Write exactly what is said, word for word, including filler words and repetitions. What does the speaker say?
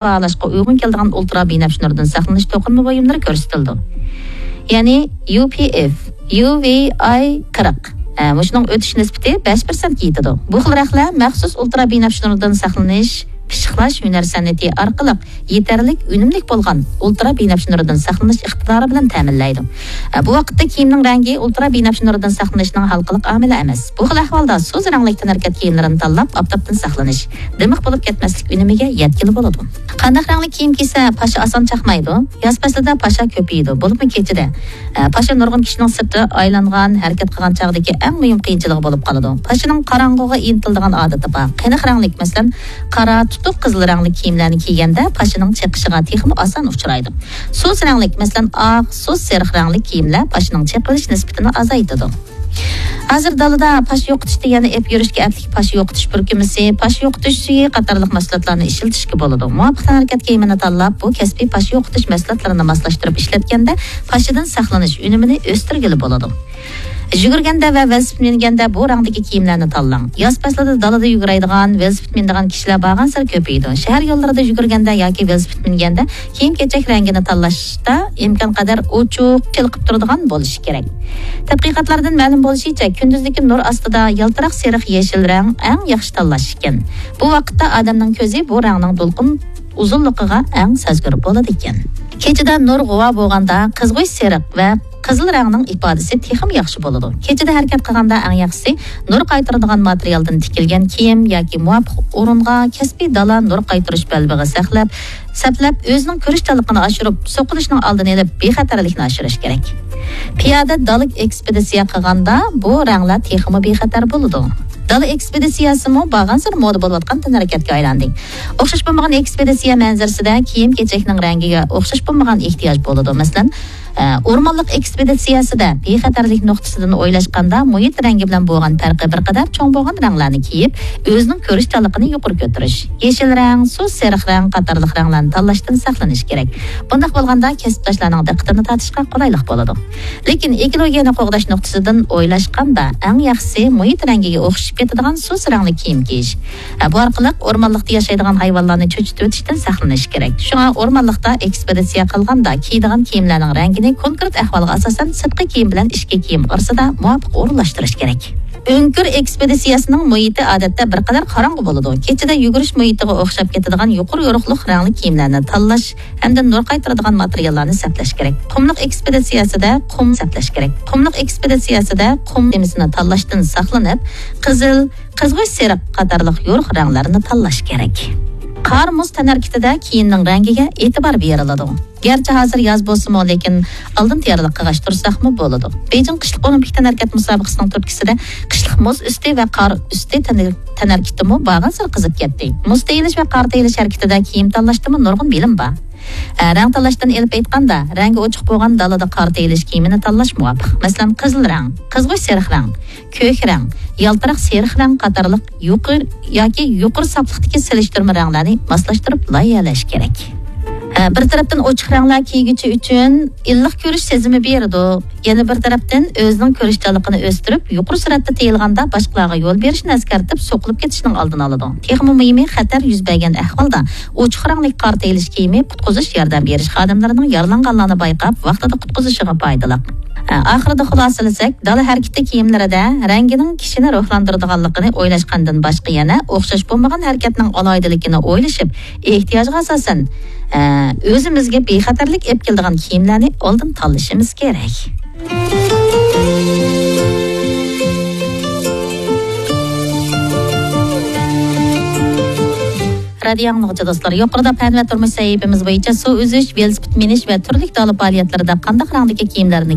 باھالاشقا ئۇيغۇن كېلىدىغان ئۇلترا بىنەپشە نۇرىدىن ساقلىنىش توقۇنما بۇيۇملىرى كۆرسىتىلىدۇ. يەنى يۇ پى ئېف، يۇ ۋى ئاي قىرىق. ئە، مۇشۇنىڭ ئۆتۈش نىسبىتى بەش پىرسەنتكە يېتىدۇ. بۇ خىل رەخلەر مەخسۇس ئۇلترا بىنەپشە نۇرىدىن ساقلىنىش، پىششىقلاش ھۈنەر سەنئىتى ئارقىلىق يېتەرلىك ئۈنۈملۈك بولغان ئۇلترا بىنەپشە نۇرىدىن ساقلىنىش ئىقتىدارى بىلەن تەمىنلەيدۇ. ئە، بۇ ۋاقىتتا كىيىمنىڭ رەڭگى ئۇلترا بىنەپشە نۇرىدىن ساقلىنىشنىڭ ھالقىلىق ئامىلى ئەمەس. بۇ خىل ئەھۋالدا سۇس رەڭلىك تەنھەرىكەت كىيىملىرىنى تاللاپ، ئاپتاپتىن ساقلىنىش، دىمىق بولۇپ كەتمەسلىك ئۈنۈمىگە يەتكىلى بولىدۇ. قانداق رەڭلىك كىيىم كىيسە پاشا ئاسان چاقمايدۇ؟ ياز پەسلىدە پاشا كۆپىيىدۇ، بولۇپمۇ كېچىدە. ئە، پاشا نۇرغۇن كىشىنىڭ سىرتى ئايلانغان، ھەرىكەت قىلغان چاغدىكى ئەڭ مۇھىم قىيىنچىلىقى بولۇپ قالىدۇ. پاشىنىڭ قاراڭغۇغا ئىنتىلىدىغان ئادىتى بار. قېنىق رەڭلىك، مەسىلەن، قارا، تۇتۇق قىزىل رەڭلىك كىيىملەرنى كىيگەندە پاشىنىڭ چېقىشىغا تېخىمۇ ئاسان ئۇچرايدۇ. سۇس رەڭلىك، مەسىلەن، ئاق، سۇس سېرىق رەڭلىك كىيىملەر پاشىنىڭ چېقىلىش نىسبىتىنى ئازايتىدۇ. ھازىر دالىدا پاشا يوقىتىشتا يەنە ئېلىپ يۈرۈشكە ئەپلىك پاشا يوقىتىش پۈركۈمىسى، پاشا يوقىتىش سۈيى قاتارلىق مەھسۇلاتلارنى ئىشلىتىشكە بولىدۇ. مۇۋاپىق تەنھەرىكەت كىيىمىنى تاللاپ، بۇ كەسپىي پاشا يوقىتىش مەھسۇلاتلىرىنى ماسلاشتۇرۇپ ئىشلەتكەندە، پاشىدىن ساقلىنىش ئۈنۈمىنى ئۆستۈرگىلى بولىدۇ. يۈگۈرگەندە ۋە ۋېلىسىپىت مىنگەندە بۇ رەڭدىكى كىيىملەرنى تاللاڭ. ياز پەسلىدە دالىدا يۈگۈرەيدىغان، ۋېلىسىپىت مىنىدىغان كىشىلەر بارغانسېرى كۆپىيىدۇ. شەھەر يوللىرىدا يۈگۈرگەندە ياكى ۋېلىسىپىت مىنگەندە كىيىم-كېچەك رەڭگىنى تاللاشتا ئىمكان قەدەر ئوچۇق، چېلىقىپ تۇرىدىغان بولۇشى كېرەك. تەتقىقاتلاردىن مەلۇم بولۇشىچە، كۈندۈزدىكى نۇر ئاستىدا يالتىراق سېرىق يېشىل رەڭ ئەڭ ياخشى تاللاش ئىكەن. بۇ ۋاقىتتا ئادەمنىڭ كۆزى بۇ رەڭنىڭ دولقۇن ئۇزۇنلۇقىغا ئەڭ سەزگۈر بولىدىكەن. كېچىدە نۇر غۇۋا بولغاندا قىزغۇچ سېرىق ۋە قىزىل رەڭنىڭ ئىپادىسى تېخىمۇ ياخشى بولىدۇ. كېچىدە ھەرىكەت قىلغاندا ئەڭ ياخشىسى نۇر قايتۇرىدىغان ماتېرىيالدىن تىكىلگەن كىيىم ياكى مۇۋاپىق ئورۇنغا، كەسپىي دالا نۇر قايتۇرۇش بەلبېغى ساقلاپ، سەپلەپ، ئۆزىنىڭ كۆرۈشچانلىقىنى ئاشۇرۇپ، سوقۇلۇشنىڭ ئالدىنى ئېلىپ، بىخەتەرلىكنى ئاشۇرۇش كېرەك. پىيادە دالا ئېكسپېدىتسىيە قىلغاندا بۇ رەڭلەر تېخىمۇ بىخەتەر بولىدۇ. دالا ئېكسپېدىتسىيەسىمۇ بارغانسېرى مودا بولۇۋاتقان تەنھەرىكەتكە ئايلاندى. ئوخشاش بولمىغان ئېكسپېدىتسىيە مەنزىرىسىدە كىيىم-كېچەكنىڭ رەڭگىگە ئوخشاش بولمىغان ئېھتىياج بولىدۇ. مەسىلەن، ئە، ئورمانلىق ئېكسپېدىتسىيەسىدە بىخەتەرلىك نۇقتىسىدىن ئويلاشقاندا، مۇھىت رەڭگى بىلەن بولغان پەرقى بىر قەدەر چوڭ بولغان رەڭلەرنى كىيىپ، ئۆزىنىڭ كۆرۈشچانلىقىنى يۇقىرى كۆتۈرۈش، يېشىل رەڭ، سۇس سېرىق رەڭ قاتارلىق رەڭلەرنى تاللاشتىن ساقلىنىش كېرەك. بۇنداق بولغاندا كەسىپداشلارنىڭ دىققىتىنى تارتىشقا قولايلىق بولىدۇ. لېكىن ئېكولوگىيەنى قوغداش نۇقتىسىدىن ئويلاشقاندا، ئەڭ ياخشىسى مۇھىت رەڭگىگە ئوخشىشىپ كېتىدىغان سۇس رەڭلىك كىيىم كىيىش. ھە، بۇ ئارقىلىق ئورمانلىقتا ياشايدىغان ھايۋانلارنى چۆچۈتۈۋېتىشتىن ساقلىنىش كېرەك. شۇڭا ئورمانلىقتا ئېكسپېدىتسىيە قىلغاندا كىيىدىغان كىيىملەرنىڭ رەڭگىنى كونكرېت ئەھۋالغا ئاساسەن سىرتقى كىيىم بىلەن ئىچكى كىيىم ئارىسىدا مۇۋاپىق ئورۇنلاشتۇرۇش كېرەك. ئۆڭكۈر ئېكسپېدىتسىيەسىنىڭ مۇھىتى ئادەتتە بىر قەدەر قاراڭغۇ بولىدۇ. كېچىدە يۈگۈرۈش مۇھىتىغا ئوخشاپ كېتىدىغان يۇقىرى يورۇقلۇق رەڭلىك كىيىملەرنى تاللاش ھەمدە نۇر قايتۇرىدىغان ماتېرىياللارنى سەپلەش كېرەك. قۇملۇق ئېكسپېدىتسىيەسىدە قۇم سەپلەش كېرەك. قۇملۇق ئېكسپېدىتسىيەسىدە قۇم تېمىسىنى تاللاشتىن ساقلىنىپ، قىزىل، قىزغۇچ سېرىق قاتارلىق يورۇق رەڭلەرنى تاللاش كېرەك. قار مۇز تەنھەرىكىتىدە كىيىمنىڭ رەڭگىگە ئېتىبار بېرىلىدۇ. گەرچە ھازىر ياز بولسىمۇ، لېكىن ئالدىن تەييارلىق قىلغاچ تۇرساقمۇ بولىدۇ. بېيجىڭ قىشلىق ئولىمپىك تەنھەرىكەت مۇسابىقىسىنىڭ تۈرتكىسىدە قىشلىق مۇز ئۈستى ۋە قار ئۈستى تەن-، تەنھەرىكىتىمۇ بارغانسېرى قىزىپ كەتتى. مۇز تېيىلىش ۋە قار تېيىلىش ھەرىكىتىدە كىيىم تاللاشتىمۇ نۇرغۇن بىلىم بار. ئە، رەڭ تاللاشتىن ئېلىپ ئېيتقاندا، رەڭگى ئوچۇق بولغان دالىدا قار تېيىلىش كىيىمىنى تاللاش مۇۋاپىق. مەسىلەن، قىزىل رەڭ، قىزغۇچ سېرىق رەڭ، كۆك رەڭ، يالتىراق سېرىق رەڭ قاتارلىق يۇقىرى ياكى يۇقىرى ساپلىقتىكى سېلىشتۇرما رەڭلەرنى ماسلاشتۇرۇپ لايىھەلەش كېرەك. ھە، بىر تەرەپتىن ئوچۇق رەڭلەر كىيگۈچى ئۈچۈن ئىللىق كۆرۈش سېزىمى بېرىدۇ. يەنە بىر تەرەپتىن ئۆزىنىڭ كۆرۈشچانلىقىنى ئۆستۈرۈپ، يۇقىرى سۈرئەتتە تېيىلغاندا باشقىلارغا يول بېرىشنى ئەسكەرتىپ، سوقۇلۇپ كېتىشنىڭ ئالدىنى ئالىدۇ. تېخىمۇ مۇھىمى، خەتەر يۈز بەرگەن ئەھۋالدا ئوچۇق رەڭلىك قار تېيىلىش كىيىمى قۇتقۇزۇش ياردەم بېرىش خادىملىرىنىڭ يارىلانغانلارنى بايقاپ، ۋاقتىدا قۇتقۇزۇشىغا پايدىلىق. ئاخىرىدا خۇلاسىلىسەك، دالا ھەرىكىتى كىيىملىرىدە رەڭگىنىڭ كىشىنى روھلاندۇرىدىغانلىقىنى ئويلاشقاندىن باشقا يەنە ئوخشاش بولمىغان ھەرىكەتنىڭ ئالاھىدىلىكىنى ئويلىشىپ، ئېھتىياجغا ئاساسەن، ئە، ئۆزىمىزگە بىخەتەرلىك ئېلىپ كېلىدىغان كىيىملەرنى ئالدىن تاللىشىمىز كېرەك. رادىيو ئاڭلىغۇچى دوستلار، يۇقىرىدا پەن ۋە تۇرمۇش سەھىپىمىز بويىچە سۇ ئۈزۈش، ۋېلىسىپىت مىنىش ۋە تۈرلۈك دالا پائالىيەتلىرىدە قانداق رەڭدىكى كىيىملەرنى